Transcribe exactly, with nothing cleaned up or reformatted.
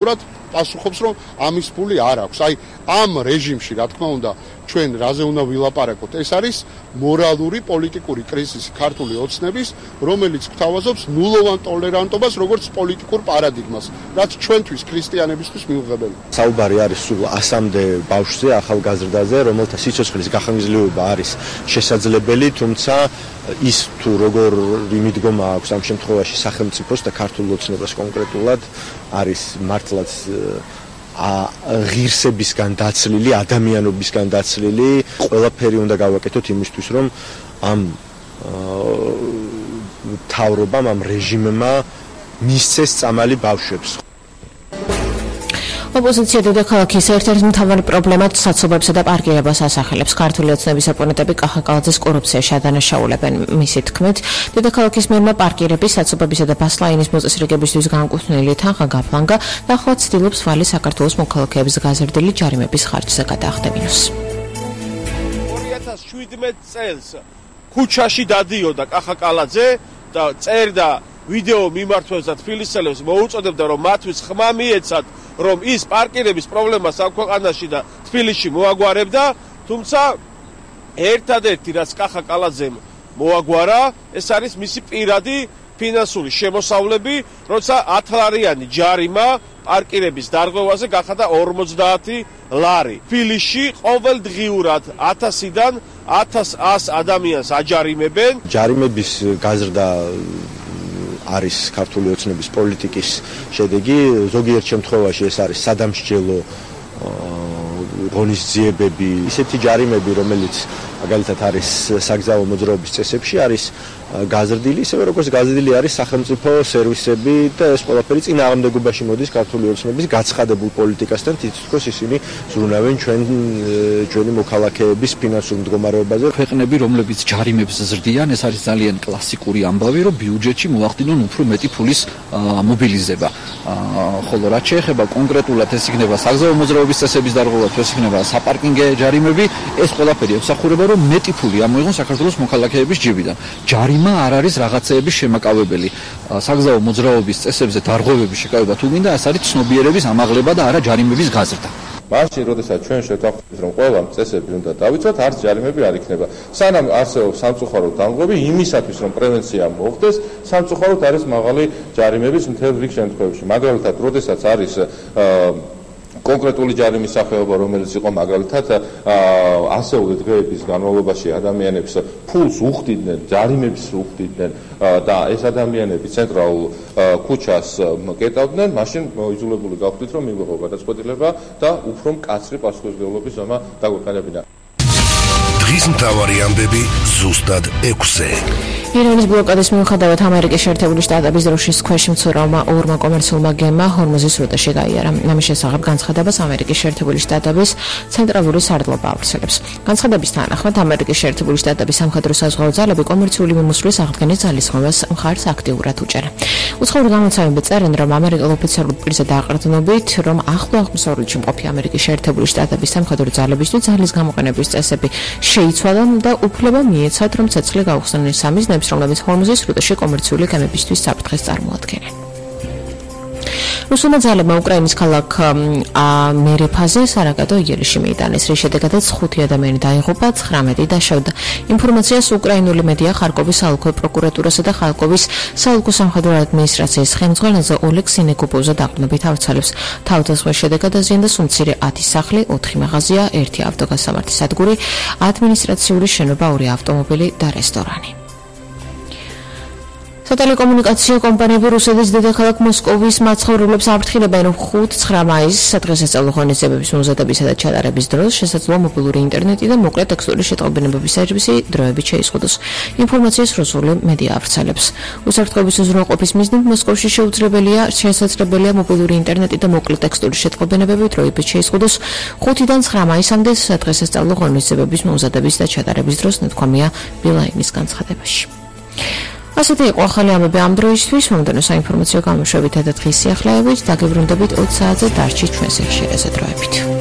აბსოლუტურად პასუხობს, რომ ამის ფული არ აქვს. აი, ამ რეჟიმში, რა თქმა უნდა, ჩვენ რაზე უნდა ვილაპარაკოთ, ეს არის მორალური პოლიტიკური კრიზისი ქართული ოცნების, რომელიც გვთავაზობს ნულოვან ტოლერანტობას როგორც პოლიტიკურ პარადიგმას, რაც ჩვენთვის ქრისტიანებისთვის მიუღებელია. საუბარი არის სულ ასამდე ბავშვზე, ახალგაზრდაზე, რომელთა სიცოცხლის გახანგრძლივება არის შესაძლებელი, თუმცა ის თუ როგორი მიდგომა აქვს ამ შემთხვევაში სახელმწიფოს და ქართულ ოცნებას კონკრეტულად არის მართლაც ღირსებისგან დაცლილი, ადამიანობისგან დაცლილი, ყველაფერი უნდა გავაკეთოთ იმისთვის, რომ ამ თავრობამ, ამ რეჟიმმა მისცეს წამალი ბავშვებს. ოპოზიცია დედაქალაქის ერთ-ერთი მთავარი პრობლემად საცობებსა და პარკირებას ასახელებს. ქართული ოცნების ოპონენტები კახაკალაძეს კორუფციაში ადანაშაულებენ. მისი თქმით, დედაქალაქის მერმა პარკირების, საცობებისა და ბასლაინის მოწესრიგებისთვის განკუთვნილი თანხა გაფლანგა და ახლა ცდილობს ვალი საქართველოს მოქალაქეების გაზრდილი ჯარიმების ხარჯზე გადაახდებინოს. ორი ათას შვიდმეტ წელს ქუჩაში დადიოდა კახაკალაძე და წერდა ვიდეო მიმართვებს და თბილისელებს მოუწოდებდა, რომ მათთვის ხმა მიეცათ, რომ ის პარკირების პრობლემას ამ ქვეყანაში და თბილისში მოაგვარებდა, თუმცა ერთადერთი რაც კახაკალაძემ მოაგვარა, ეს არის მისი პირადი ფინანსური შემოსავლები, როცა ათლარიანი ჯარიმა პარკირების დარღვევაზე გახადა ორმოცდაათი ლარი. თბილისში ყოველდღიურად ათასიდან ათას ას ადამიანს აჯარიმებენ. ჯარიმების გაზრდა არის ქართული ოცნების პოლიტიკის შედეგი. ზოგიერთ შემთხვევაში ეს არის სადამსჯელო ღონისძიებები, ისეთი ჯარიმები, რომელიც მაგალითად არის საგზაო მოძრაობის წესებში, არის გაზრდილი, ისევე როგორც გაზრდილი არის სახელმწიფო სერვისები და ეს ყველაფერი წინააღმდეგობაში მოდის ქართული ოცნების გაცხადებულ პოლიტიკასთან, თითქოს ისინი ზრუნავენ ჩვენ ჩვენი მოქალაქეების ფინანსურ მდგომარეობაზე. ქვეყნები, რომლებიც ჯარიმებს ზრდიან, ეს არის ძალიან კლასიკური ამბავი, რომ ბიუჯეტში მოახდინონ უფრო მეტი ფულის მობილიზება. ხოლო რაც შეეხება კონკრეტულად ეს იქნება საგზაო მოძრაობის წესების დარღვევა, ეს იქნება საპარკინგე ჯარიმები, ეს ყველაფერი ეხსახურება, რომ მეტი ფული ამოიღონ საქართველოს მოქალაქეების ჯიბიდან. ჯარიმა არ არის რაღაცეების შემაკავებელი. საგზაო მოძრაობის წესებზე დარღვევების შეკავება თუ მინდა, ეს არის ცნობიერების ამაღლება და არა ჯარიმების გაზრდა. მაშინ, როდესაც ჩვენ შევთანხმდით, რომ ყველა წესები უნდა დავიცვათ, არც ჯარიმები არ იქნება. სანამ არსებობს სამწუხარო დამღები, იმისათვის, რომ პრევენცია მოხდეს, სამწუხაროდ არის მაღალი ჯარიმების მთელ რიგ შემთხვევებში. მაგალითად, როდესაც არის კონკრეტული ჯარიმის სახეობა, რომელიც იყო მაგალითად ასეული დღეების განმავლობაში ადამიანებს ფულს უხდიდნენ, ჯარიმებს უხდიდნენ და ეს ადამიანები ცენტრალურ ქუჩას კეტავდნენ, მაშინ მოიძულებული გავხდით, რომ მივიღო გადაწყვეტილება და უფრო მკაცრი პასუხისმგებლობის ზომა დაგვეყენებინა. დღის მთავარი ამბები ზუსტად ექვსზე. ირანის ბლოკადის მიუხედავად ამერიკის შეერთებული შტატების დროშის ქვეშ მცურავმა ორმა კომერციულმა გემმა ჰორმუზის სრუტეში გაიარა. ამის შესახებ განცხადებას ამერიკის შეერთებული შტატების ცენტრალური სარდლობა ავრცელებს. განცხადების თანახმად ამერიკის შეერთებული შტატების სამხედრო საზღვაო ძალები კომერციული მიმოსვლის აღდგენის ძალისხმევას მხარს აქტიურად უჭერა. უცხოური გამოცემები წერენ, რომ ამერიკელ ოფიციალურ პირზე დააყრდნობით, რომ ახლო აღმოსავლეთში მყოფი ამერიკის შეერთებული შტატების სამხედრო ძალებისთვის ძალის გამოყენების წესები შეიცვალა და უფლება მიეცათ, რომ ცეცხლი გაუხსნեն სამის რომლებიც ჰორმუზის სრუტეში კომერციული გემებისთვის საფრთხეს წარმოადგენენ. რუსულმა ძალებმა უკრაინის ქალაქ მერეფაზე სარაკატო იერში მიიტანეს, რის შედეგადაც ხუთი ადამიანი დაიღუპა, ცხრამეტი დაშავდა. ინფორმაციას უკრაინული მედია ხარკოვის საოლქო პროკურატურასა და ხარკოვის საოლქო სამხედრო ადმინისტრაციის ხელმძღვანელზე ოლეგ სინეკოპოვზე დაყრდნობით ავრცელებს. თავდასხმის შედეგად დაზიანდა სუმცირე ათი სახლი, ოთხი მაღაზია, ერთი ავტოგასამართი სადგური, ადმინისტრაციული შენობა, ორი ავტომობილი და რესტორანი. სატელეკომუნიკაციო კომპანიები რუსეთის დედაქალაქ მოსკოვის მაცხოვრებლებს აფრთხილებენ, რომ ხუთი ცხრა მაისს სადღესასწაულო ღონისძიებების მომზადებისა და ჩატარების დროს შესაძლოა მობილური ინტერნეტი და მოკლე ტექსტური შეტყობინებების სერვისი დროებით შეიზღუდოს. ინფორმაციას რუსული მედია ავრცელებს. უსაფრთხოების უზრუნველყოფის მიზნით მოსკოვში შეუძლებელია შესაძლებელია მობილური ინტერნეტი და მოკლე ტექსტური შეტყობინებები დროებით შეიზღუდოს. ხუთიდან ცხრა მაისამდე სადღესასწაულო ღონისძიებების მომზადების და ჩატარების დროს ნათქვამია ბილაინის განცხადებაში. ასეთი იყო ახალი ამბები ამ დროისთვის. მომდევნო საინფორმაციო გამოშვებით და დღის სიახლეებით დაგებრუნდებით ოცი საათზე დარჩით ჩვენს ეფირზე დროებით.